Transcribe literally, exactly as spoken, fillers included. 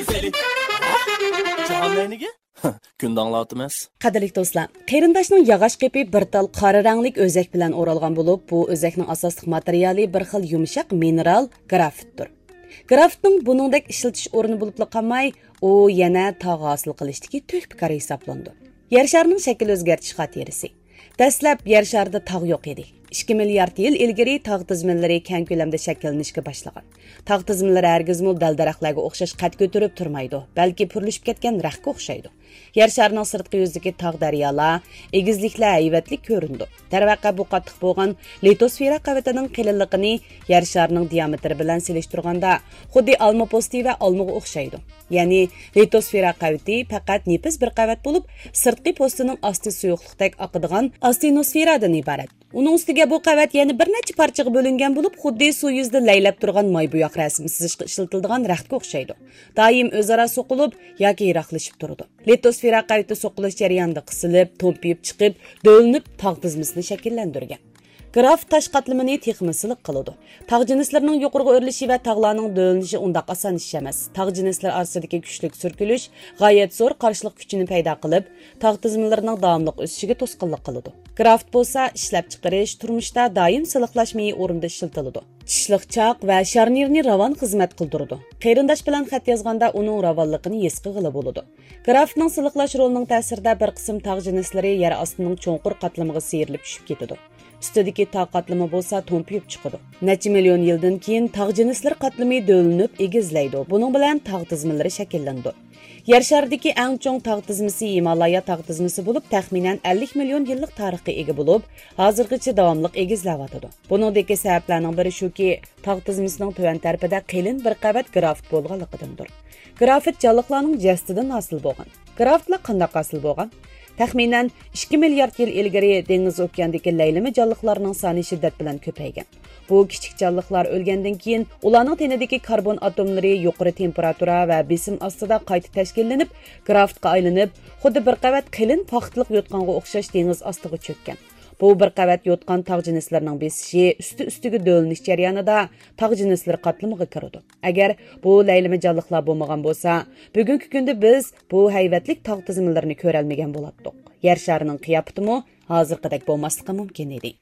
جاھاننى نېگە؟ كۈندە ئاڭلاۋاتىمىز. قەدىرلىك دوستلار، قېرىنداشنىڭ ياغاچ قېپى بىر تال قارا رەڭلىك ئۆزەك بىلەن ئورالغان بولۇپ، بۇ ئۆزەكنىڭ ئاساسلىق ماتېرىيالى بىر خىل يۇمشاق مىنېرال گرافىتتۇر. گرافىتنىڭ بۇنىڭدەك ئىشلىتىش ئورنى بولۇپلا قالماي، ئۇ يەنە تاغ ھاسىل قىلىشتىكى تۆھپىكار ھېسابلىنىدۇ. يەر شارىنىڭ شەكىل ئۆزگەرتىش خاتىرىسى. دەسلەپ يەر شارىدا تاغ يوق ئىدى. ئىككى مىليارد يىل ئىلگىرى تاغ تىزمىلىرى كەڭ كۆلەمدە شەكىللىنىشكە باشلىغان. تاغ تىزمىلىرى ھەرگىزمۇ دەل-دەرەخلەرگە ئوخشاش قەد كۆتۈرۈپ تۇرمايدۇ، بەلكى پۈرلىشىپ كەتكەن رەختكە ئوخشايدۇ. يەر شارىنىڭ سىرتقى يۈزىدىكى تاغ، دەريالار، ئېگىزلىكلەر ھەيۋەتلىك كۆرۈنىدۇ. دەرۋەقە، بۇ قاتتىق بولغان لىتوسفېرا قەۋىتىنىڭ قېلىنلىقىنى يەر شارىنىڭ دىيامېتىرى بىلەن سېلىشتۇرغاندا، خۇددى ئالما پوستى ۋە ئالمىغا ئوخشايدۇ. يەنى، لىتوسفېرا قەۋىتى پەقەت نېپىز بىر قەۋەت بولۇپ، سىرتقى پوستىنىڭ ئاستى سۇيۇقلۇقتەك ئاقىدىغان ئاستېنوسفېرادىن ئىبارەت. ئۇنىڭ ئۈستىگە بۇ قەۋەت يەنە بىر نەچچە پارچىغا بۆلۈنگەن بولۇپ، خۇددى سۇ يۈزىدە لەيلەپ تۇرغان ماي بوياق رەسىم سىزىشقا ئىشلىتىلىدىغان رەختكە ئوخشايدۇ. دائىم ئۆزئارا سوقۇلۇپ ياكى يىراقلىشىپ تۇرىدۇ. لىتوسفېرا قەۋىتى سوقۇلۇش جەريانىدا قىسىلىپ، تومپىيىپ چىقىپ، دۆۋىلىنىپ تاغ تىزمىسىنى شەكىللەندۈرگەن. گرافىت تاش قاتلىمىنى تېخىمۇ سىلىق قىلىدۇ. تاغ جىنسلىرىنىڭ يۇقىرىغا ئۆرلىشى ۋە تاغلارنىڭ دۆۋىلىنىشى ئۇنداق ئاسان ئىش ئەمەس. تاغ جىنسلىرى ئارىسىدىكى كۈچلۈك سۈركىلىش غايەت زور قارشىلىق كۈچىنى پەيدا قىلىپ، تاغ تىزمىلىرىنىڭ داۋاملىق ئۆسۈشىگە توسقۇنلۇق قىلىدۇ. گرافىت بولسا ئىشلەپچىقىرىش، تۇرمۇشتا دايىم سىلىقلاش مېيى ئورنىدا ئىشلىتىلىدۇ. چىشلىق چاق ۋە شارنىرنى راۋان خىزمەت قىلدۇرىدۇ. قېرىنداش بىلەن خەت يازغاندا ئۇنىڭ راۋانلىقىنى ھېس قىلغىلى بولىدۇ. گرافىتنىڭ سىلىقلاش رولىنىڭ تەسىرىدە بىر قىسىم تاغ جىنسلىرى يەر ئاستىنىڭ چوڭقۇر قاتلىمىغا سىيرىلىپ چۈشۈپ كېتىدۇ. ئۈستىدىكى تاغ قاتلىمى بولسا تومپىيىپ چىقىدۇ. نەچچە مىليون يىلدىن كېيىن تاغ جىنسلىرى قاتلىمى دۆۋىلىنىپ ئېگىزلەيدۇ. بۇنىڭ بىلەن تاغ تىزمىلىرى شەكىللىنىدۇ. يەر شارىدىكى ئەڭ چوڭ تاغ تىزمىسى ھىمالايا تاغ تىزمىسى بولۇپ، تەخمىنەن ئەللىك مىليون يىللىق تارىخقا ئىگە بولۇپ، ھازىرغىچە داۋاملىق ئېگىزلەۋاتىدۇ. بۇنىڭدىكى سەۋەبلەرنىڭ بىرى شۇكى، تاغ تىزمىسىنىڭ تۆۋەن تەرىپىدە قېلىن بىر قەۋەت گرافىت بولغانلىقىدىندۇر. گرافىت جانلىقلارنىڭ جەسىتىدىن ھاسىل بولغان. گرافىتلار قانداق ھاسىل بولغان؟ تەخمىنەن ئىككى مىليارد يىل ئىلگىرى دېڭىز ئوكياندىكى لەيلىمە جانلىقلارنىڭ سانى شىددەت بىلەن كۆپەيگەن. بۇ كىچىك جانلىقلار ئۆلگەندىن كېيىن، ئۇلارنىڭ تېنىدىكى كاربون ئاتوملىرى يۇقىرى تېمپېراتۇرا ۋە بېسىم ئاستىدا قايتا تەشكىللىنىپ، گرافىتقا ئايلىنىپ، خۇددى بىر قەۋەت قېلىن پاختىلىق يوتقانغا ئوخشاش دېڭىز ئاستىغا چۆككەن. بۇ بىر قەۋەت يوتقان تاغ جىنسلىرىنىڭ بېسىشى ئۈستى-ئۈستىگە دۆۋىلىنىش جەريانىدا تاغ جىنسلىرى قاتلىمىغا كىرىدۇ. ئەگەر بۇ لەيلىمە جانلىقلار بولمىغان بولسا، بۈگۈنكى كۈندە بىز بۇ ھەيۋەتلىك تاغ تىزمىلىرىنى كۆرەلمىگەن بولاتتۇق. يەر شارىنىڭ قىياپىتىمۇ ھازىرقىدەك بولماسلىقى مۇمكىن ئىدى.